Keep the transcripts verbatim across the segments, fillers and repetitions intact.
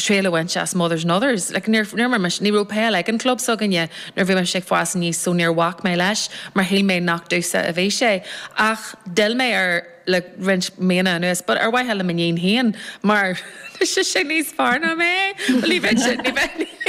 Triail a bhaint as Mothers and Others. Like, níor níor mar ní raibh peil ag an club s'againne nuair bhí mé ag fás aníos so níor bhac mé leis mar shíl mé nach domsa a bhí sé. Ach d'fhill mé ar le roinnt míonna anuas, but ar mhaithe le m'iníon féin mar sé sé níos fearr ná mé ní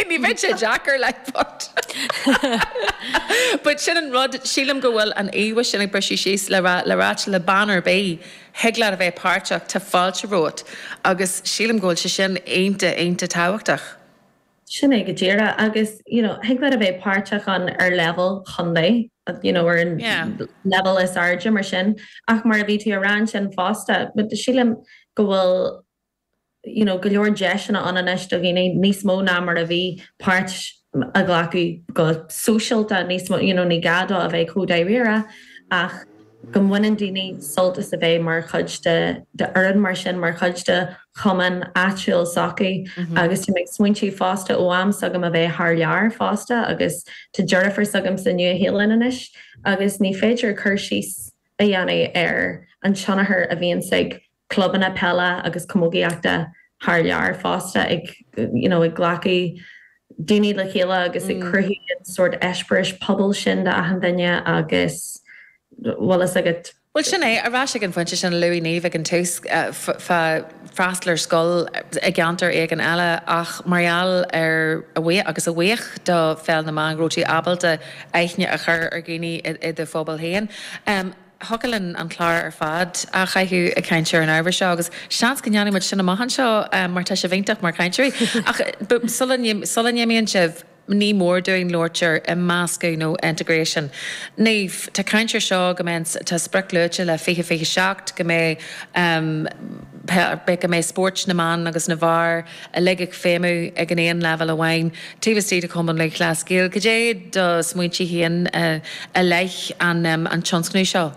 ní bheidh sé deacair le but. But sin an rud sílim go bhfuil an íomhá sin ag briseadh síos le le ráit le bean ar bith thig leat a bheith páirteach tá fáilte romhat agus sílim go bhfuil sé sin iontach iontach tábhachtach. Sin é go díreach agus you know, thig leat a bheith páirteach an ar level chontae you know, ar an Yeah. level is airde mar sin ach mar a bhí tú ag rá sin fosta, but sílim go bhfuil you know, go leor deiseanna ann anois do dhaoine níos mó ná mar a bhí páirt a ghlacadh go sóisialta níos mó you know, ní gá dó a bheith chomh dáiríre ach go mbaineann daoine sult as a bheith mar chuid de de fhoireann mar sin mar chuid de chumann áitiúil s'acu agus tá mé ag smaointiú fosta ó am s'agam a bheith thar lear fosta agus tá deirfiúr s'agam sa Nua-Shéalainn anois agus ní féidir cur síos a dhéanamh ar an tionchar a bhíonn ag clubanna peile agus camógaíochta thar lear fosta ag you know, ag glacadh daoine le chéile agus ag cruthú an sórt eispéireas pobail sin d'achan duine agus bhfuil fhios agat Well sin é ar ais ag an phointe sin luaigh Niamh ag an tús fá freastal ar scoil i gceantar éigin eile ach mar gheall ar a bhuí agus a bhuíoch do Pheil na mBan go raibh tú ábalta aithne a chur ar dhaoine i do phobal féin. Um, Thiocfadh linn an clár ar fad a chaitheamh ag caint ar an ábhar seo agus seans go ndéanfaidh muid sin amach anseo um, mar tá sibh iontach mar chainteoirí. Ach sula n-imíonn sibh ní mór dúinn labhairt ar imeascadh nó integration. Niamh tá caint air seo go mbeidh tá sprioc luaite le fiche fiche seacht go mbeidh um, go mbeidh spóirt na mban agus na bhfear uilig ag feidhmiú ag an aon level amháin. Taobh istigh de Chumann Lúthchleas Gael, Cad é do smaointe féin uh, i leith an, um, an tionscnamh seo.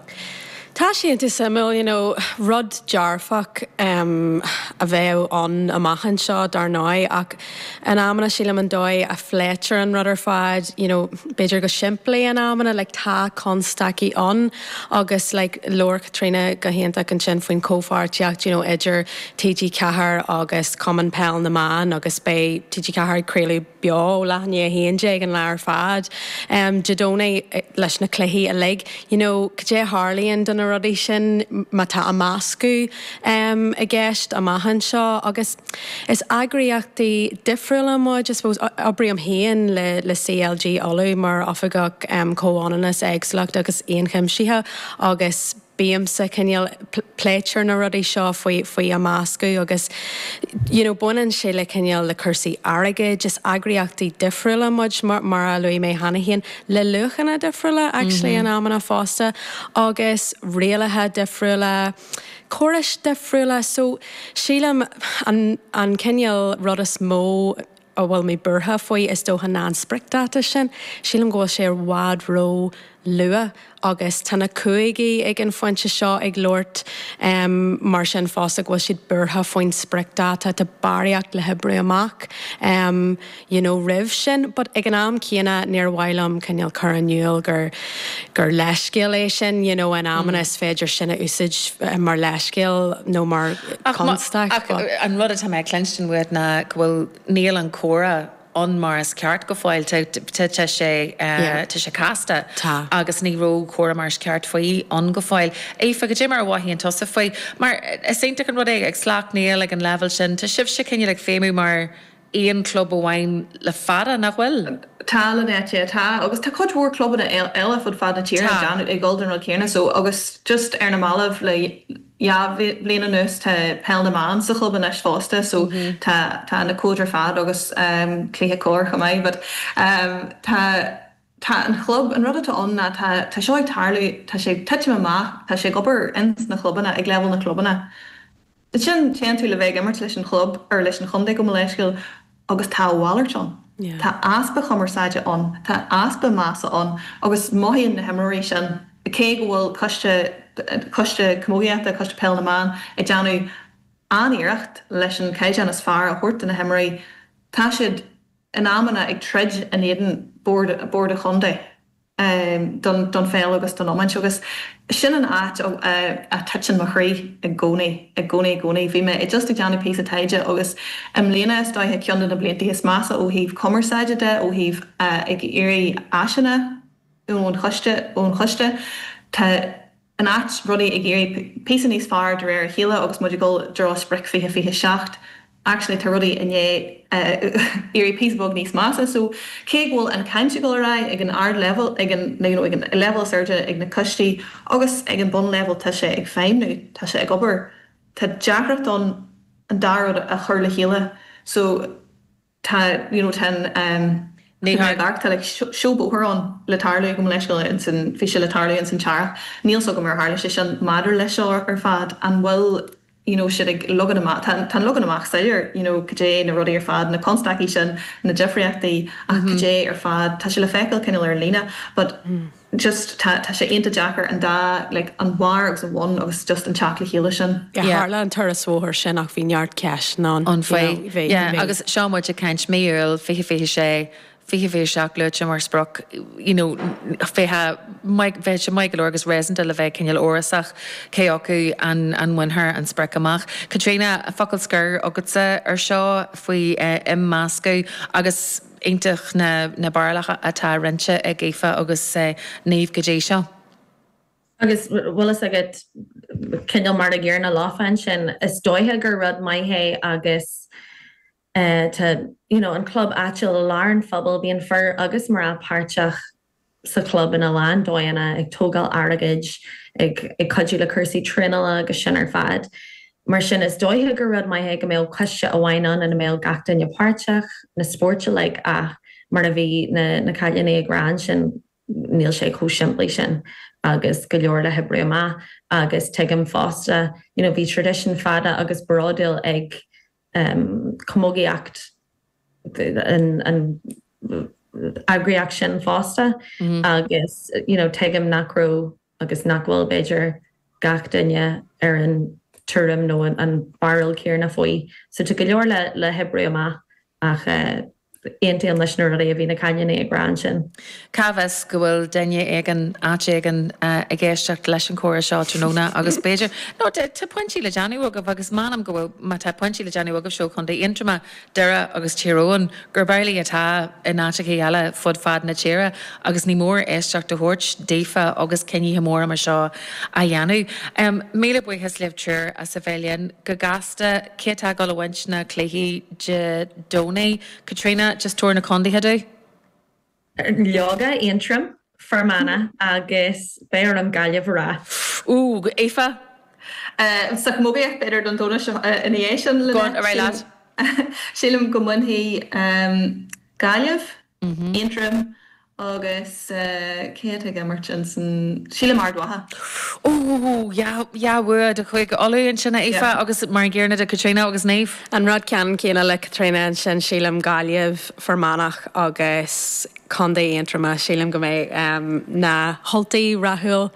Tá sé an-suimiúil you know, rud dearfach um, a bheith ann amach anseo dar ndóigh ach in amanna sílim an dóigh a phléitear an rud ar fad you know, b'fhéidir go simplí in amanna like, tá constaicí ann agus like, labhair Caitríona go hiontach ansin faoin comhpháirtíocht you know, idir TG Ceathair agus Cumann Peil na mBan agus beidh TG Ceathair craoladh beo leath i ndiaidh a haon déag an lá ar fad. Um, Dé Domhnaigh leis na cluichí uilig, you know, cad é a tharlaíonn do na rudaí sin má tá imeascadh um, i gceist amach anseo agus is eagraíochtaí difriúla muid, I suppose oibrím féin le le CLG Uladh mar oifigeach um, comhionannas éagsúlacht agus ionchuimsithe agus bímse cineál pléitear na rudaí seo faoi faoi imeascadh agus you know, baineann sé le cineál le cúrsaí airgid is eagraíochtaí difriúla muid mar, mar a luaigh mé cheana féin le luachanna difriúla actually mm -hmm. in amanna fosta agus rialacha difriúla córais difriúla so sílim an, an cineál rud is mó a bhfuil mé buartha faoi is dócha ná an spriocdháta sin, sílim go bhfuil sé i bhfad ró-luath agus tá na cúigí ag an phointe seo ag labhairt um, mar sin fosta go bhfuil siad buartha faoin spriocdháta tá barraíocht le hoibriú amach um, you know, roimh sin, but ag an am céanna níor mhaith liom cineál cur in iúl gur gur leithscéal é sin you know, in amanna mm. is féidir sin a úsáid mar leithscéal nó mar constaic. An rud atá mé ag cluinstin uait ná go bhfuil níl an comhrá ann mar is ceart go fóill tá sé tá sé casta agus ní raibh comhrá mar is ceart faoi ann go fóill. Aoife cad é mar a mhothaíonn tusa faoi, mar is iontach an rud é ag Sleacht Néill ag an level sin, Tá sibh sé cineál ag feidhmiú mar aon club amháin le fada nach bhfuil. Tá le tá agus tá cuid mhór clubanna eile fud fad na tíre ag dul an rud céanna so agus just ar na mallaibh le dhá bhliain anuas tá peil na mban sa chlub anois fosta so mm -hmm. tá tá na cóid ar fad agus um, cluiche cóir chomh maith, but um, tá tá an chlub an rud atá ann ná tá tá seo ag tarlú tá sé titim amach tá sé ag obair ins na clubanna ag level na clubanna. Sin téann tú le bheith ag imirt leis an chlub ar leis an chontae go leisciil agus tá mhalairt ann. Yeah. Tá easpa cumarsáide ann, Tá easpa measa ann agus mothaíonn na himreoirí sin cé go bhfuil coiste coiste camógaíochta coiste peil na mban ag déanamh an-iarracht leis an caighdeán is fearr a thabhairt do na himreoirí Tá siad in amanna ag troid in éadan bord bord an chontae. um, don, don pheil agus don iomáint agus sin an áit a titeann mo chroí i gcónaí i gcónaí i gcónaí. Bhí mé just ag déanamh píosa taighde agus i mbliana is dóiche ceann de na blianta is measa ó thaobh cumarsáide de ó thaobh uh, ag iarraidh áiseanna ón choiste ón choiste. Tá an áit rudaí ag éirí píosa níos fearr de réir a chéile agus muid ag dul i dtreo sprioc fiche fiche seacht. Actually tá rudaí i ndiaidh éirí píosa beag níos measa, so cé go bhfuil an chaint ag dul ar aghaidh ag an ard level ag an you know, ag an level is airde ag na coistí agus ag an bunlevel tá sé ag feidhmiú, tá sé ag obair. Tá deacracht ann an dá rud a chur le chéile, so tá you know, tá um, Ní tá like, seó bóthair ann le tarlú go leis san bhí sé le tarlú in san teach. Níl so go mar tharla sé sin maidir leis seo ar fad an bhfuil you know, siad ag leagan amach tá leagan amach soiléir you know, cad é na rudaí ar fad na constaicí sin na difríochtaí ach mm -hmm. cad é ar fad tá sé le feiceáil cineál ar líne, but mm. just tá sé iontach deacair an dá like, an barr agus an bun agus just an teacht le chéile sin. Tharla an turas bóthair sin ach bhí neart ceist ná an faoi agus seo muid ag caint mí Iúil fiche fiche sé fiche fiche seacht luaite mar sprioc you know, fiche bheadh sé maith go leor agus réasúnta le bheith cineál amhrasach cé acu an an mbainfear an sprioc amach. Caitríona focal scoir agatsa ar seo faoi eh, imeascadh agus iontach na, na barúlacha atá roinnte ag Aoife agus eh, Niamh go dtí seo. Agus bhfuil a fhios agat cineál mar a gcéanna leofa sin is dóiche gur rud maith é agus uh, tá you know, an club áitiúil i lár an phobail bíonn fir agus mná páirteach sa club ina lán dóigheanna ag tógáil airgid ag ag cuidiú le cúrsaí traenála agus sin ar fad. Mar sin is dóiche gur rud maith go mbeadh coiste amháin ann ina mbeadh gach duine páirteach na spóirt like, ach mar a bhí na, na cailíní ag rá sin níl sé chomh simplí sin agus go leor le hoibriú amach agus tuigim fosta you know, bhí tradition fada agus bródúil ag um, camógaíocht an, an eagraíocht sin fosta mm -hmm. agus you know, tuigim nach raibh agus nach bhfuil b'fhéidir gach duine ar an tuairim nó an, an barúil chéanna faoi. So tá go leor le le hoibriú amach ach uh, aontaím leis na rudaí a bhí na cailíní ag rá sin. Cá bhfios go bhfuil duine éigin áit éigin ag éisteacht leis an chomhrá seo tráthnóna agus b'fhéidir nó tá pointí le déanamh agaibh agus measaim go bhfuil má tá pointí le déanamh agaibh seo Chontae Aontroma Doire agus Tír Eoghain gur bearlaí atá in áiteacha eile fud fad na tíre agus ní mór éisteacht a thabhairt daofa agus cinntí móra mar seo a dhéanamh. Um, míle buíochas libh triúr as a bheith linn go gasta cé atá ag dul a bhaint na cluichí Dé Domhnaigh. Caitríona just tabhair na contaetha dúinn? Leoga Aontroim Fear Manach agus beidh orm Gaillimh a rá. Ú Aoife? Uh, sa chamógaíocht b'fhéidir don Domhnach uh, ina dhiaidh sin ar leat. Sílim go mbainfidh um, Gaillimh, mm -hmm. Aontroim agus uh, cé ag imirt san sílim Ard Mhacha. Ó bua do Chúige Uladh ansin Aoife agus mar gcéanna do Caitríona agus Niamh. An rud ceann céanna le Caitríona ansin sílim Gaillimh Fear Manach agus Contae Aontroma sílim go mbeidh um, na hUltaigh rathúil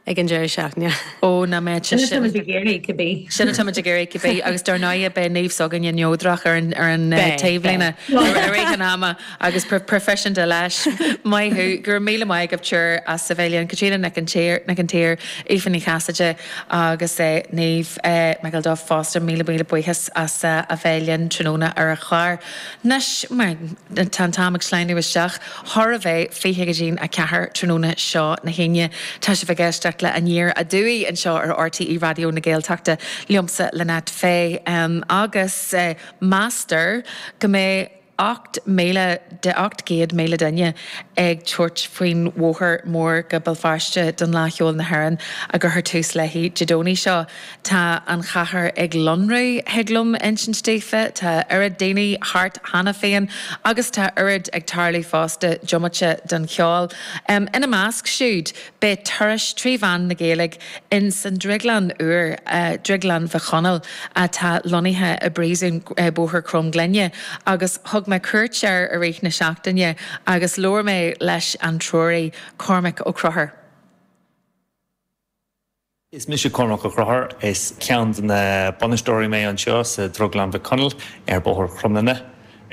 ag an deireadh seachtaine. Ó na mé Sin cibé. Sin atá ag iarraidh cibé agus dar ndóigh beidh Niamh s'againne neodrach ar an ar an eh, taobhlíne ar an ama agus proifisiúnta leis Maith thú gur míle maith agaibh triúr as a bheith linn Caitríona Nic an tSaoir Aoife Ní Chasaide agus eh, Niamh eh, McElduff fosta míle míle buíochas as a bheith linn tráthnóna ar an chlár. Anois mar tá an t-am ag sleamhnú isteach chóir a bheith fiche go dtí a ceathair tráthnóna seo na hAoine Tá sibh ag éisteacht le Aniar Aduaidh anseo ar RTÉ Raidió na Gaeltachta liomsa Lynette Fay um, agus uh, meastar go mbeidh ocht míle de ocht gcéad míle duine ag tabhairt faoin bhóthar mór go Béal Feirste don Fhleadh Cheoil na hÉireann a gcuirfear tús léi Dé Domhnaigh seo. Tá an chathair ag lonrú thig liom insint daoibh, Tá oiread daoine thart cheana féin agus tá oiread ag tarlú fosta diomaite den cheol. Um, ina measc siúd beidh turas trí mheán na Gaeilge in san Drioglann úr uh, Drioglann Mhic Chonaill atá lonnaithe i bpríosún uh, Bóthar Cromghlinne agus thug mé cuairt air i rith na seachtaine agus labhair mé leis an treoraí Cormac Ó Conchúir. Is mise Cormac Ó Conchúir is ceann de na bainisteoirí mé anseo sa Drioglann Mhic Chonaill ar Bóthar Cromghlinne.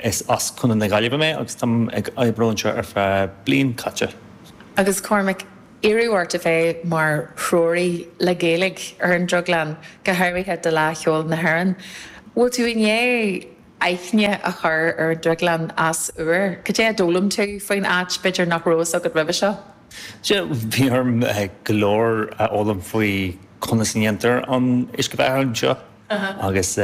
Is as Contae na Gaillimhe mé agus táim ag obair anseo ar feadh bliain caite. Agus Cormac, iarradh ort a bheith mar threoraí le Gaeilge ar an Drioglann, go háirithe do Fhleadh Cheoil na hÉireann. Bhfuil tú i ndiaidh aithne a chur ar an Drioglann as úr? Cad é a d'fhoghlaim tú faoin áit, b'fhéidir nach raibh fhios agat roimhe seo? Sea, bhí orm go leor a fhoghlaim faoi conas a dhéantar an uisce beatha anseo agus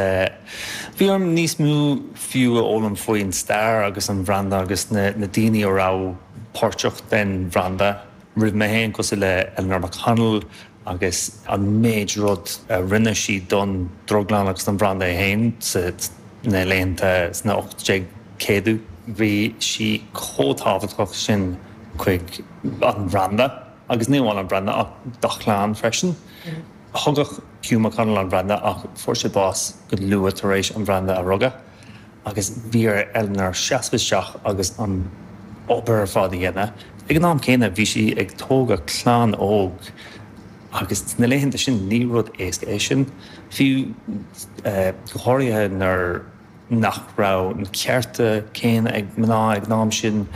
bhí orm níos mó fiú a fhoghlaim faoin stair agus an bhranda agus na daoine a raibh páirteach den bhranda roimh mé féin, cosúil le Eleanor McConnell agus an méid rud a rinne sí don drioglann agus don bhranda é féin sna laethanta sna ocht déag céadú. Bhí sí chomh tábhachtach sin chuig an bhranda agus ní amháin an branda ach dá chlann freisin. Thugadh Hugh McConnell an branda ach fuair sé bás go luath tar éis an branda a rugadh agus bhí ar Eleanor seasamh isteach agus an obair ar fad a dhéanamh. Ag an am céanna bhí sí ag tógadh clann óg agus sna laethanta sin ní rud éasca é sin, fiú go háirithe nuair nach raibh na cearta céanna ag mná ag an am sin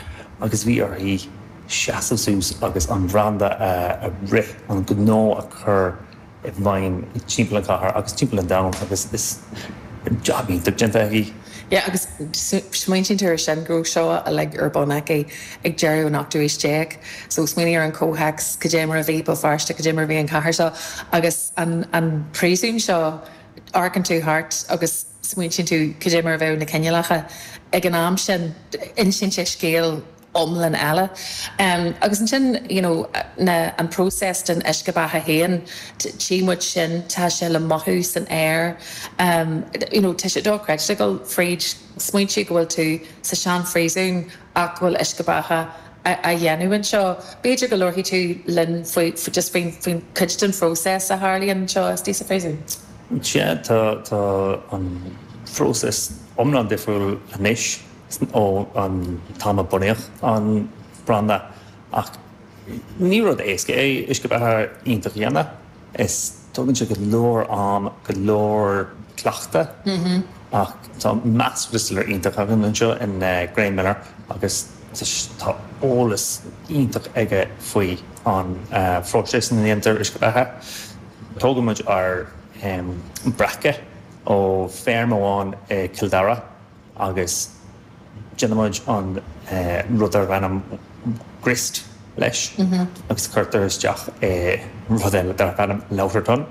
agus bhí uirthi seasamh suas agus an branda a rith, an gnó a chur i bhfeidhm timpeall an chathair agus timpeall an domhain agus is jab iontach déanta aici. Yeah, agus smaointíonn tú ar sin go raibh seo uilig ar bun aici ag deireadh an ochtú haois déag. So smaoinigh ar an comhthéacs, cad é mar a bhí Béal Feirste, cad é mar a bhí an chathair seo agus an an príosún seo, amharcann tú thart agus smaointíonn tú cad é mar a bheadh na cineálacha ag an am sin, insíonn sé scéal iomlán eile. Agus ansin, you know, na, an próiseas den uisce beatha féin, tchí muid sin, tá sé le mothú san aer, you know, tá sé dochreidte ag dul fríd, smaointiú go bhfuil tú sa sean-phríosún ach go bhfuil uisce beatha á dhéanamh anseo. B'fhéidir go labharfaidh tú linn faoi, just faoin, faoin cuid den phróiseas a tharlaíonn anseo istigh sa phríosún. Sea, tá, tá an phróiseas iomlán difriúil anois ó an t-am a bunaíodh an branda ach ní rud éasca é uisce beatha iontach a dhéanamh. Is tógann sé go leor am, go leor cleachtadh ach tá master distiller iontach againn anseo in Graham Miller agus tá eolas iontach aige faoi an phróiseas ina ndéantar uisce beatha. Tógann muid ár breaca ó feirm amháin i Cill Dara agus déanaimid an rud darb ainm grist leis agus cuirtear isteach i rud eile darb ainm lauter tun.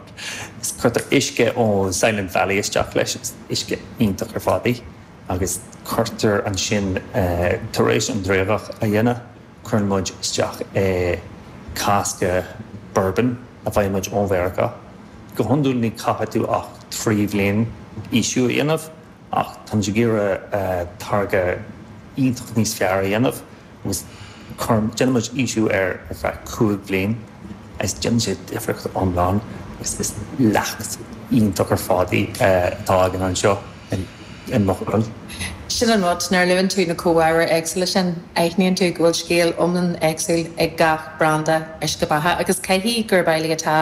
Agus cuirtear uisce ó Silent Valley isteach leis, is uisce iontach ar fad í agus cuirtear ansin tar éis an driogadh a dhéanamh, cuireann muid isteach i casca bourbon a bhfaigheann muid ó Mheiriceá. Go hiondúil ní caithfidh tú ach trí bhliain aoisiú a dhéanamh ach táimid ag iarraidh táirge iontach níos fearr a dhéanamh agus déanaimid aoisiú air ar feadh cúig bhliain agus déanann sé difríocht iomlán agus is leacht iontach ar fad í atá againn anseo i Maigh Cuilinn. Sin an rud, nuair a luann tú na comhábhair éagsúla sin, aithníonn tú go bhfuil scéal iomlán éagsúil ag gach branda uisce beatha agus caithfidh gurb amhlaidh atá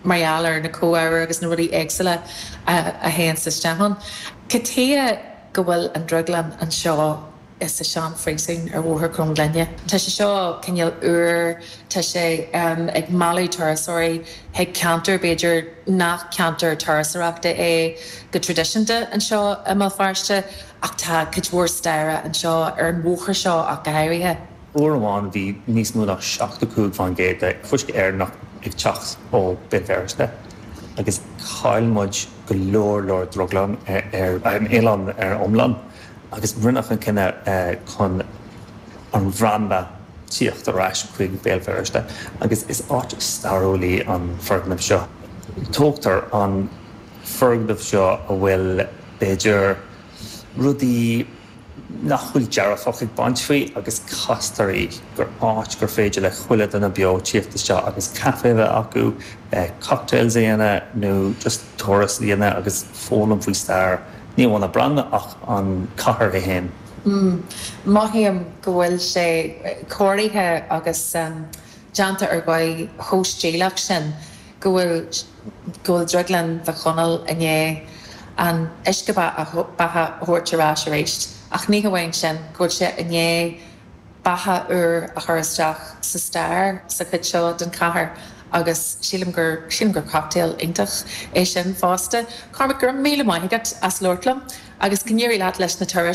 mar gheall ar na comhábhair agus na rudaí éagsúla a théann isteach ann. Cad chuige go bhfuil an drioglann anseo sa sean-phríosún ar Bhóthar Cromghlinne? Tá sé seo cineál úr, tá sé ag mealladh turasóirí chuig ceantar b'fhéidir nach ceantar turasóireachta é go traidisiúnta anseo i mBéal Feirste ach tá cuid mhór staire anseo ar an bhóthar seo ach go háirithe. Uair amháin bhí níos mó ná seachtó cúig faoin gcéad de fuisce Éireannach ag teacht ó Béal Feirste agus chaill muid go leor leor drioglann ar an oileán ar iomlán agus rinneadh an cinneadh chun an bhranda tíocht ar ais chuig Béal Feirste agus is áit stairiúil í an foirgneamh seo. Tógtar an foirgneamh seo a bhfuil b'fhéidir rudaí nach bhfuil dearfach ag baint faoi agus castar í gur áit gur féidir le chuile duine beo tíocht isteach agus caife a bheith acu, cocktails a dhéanamh nó just turas a dhéanamh agus foghlaim faoi stair ní amháin an branda ach an cathair é féin. Mothaím go bhfuil sé cóirithe agus déanta ar dhóigh chomh stíleach sin go bhfuil go bhfuil Drioglann Mhic Chonaill i ndiaidh an uisce beatha a thabhairt ar ais arís. Ach ní hamháin sin, go bhfuil sé i ndiaidh beatha úr a chur isteach sa stair sa chuid seo den chathair agus sílim gur sílim gur cocktail iontach é sin fosta. Cormac go raibh míle maith agat as labhairt liom agus go n-éirí leat leis na turais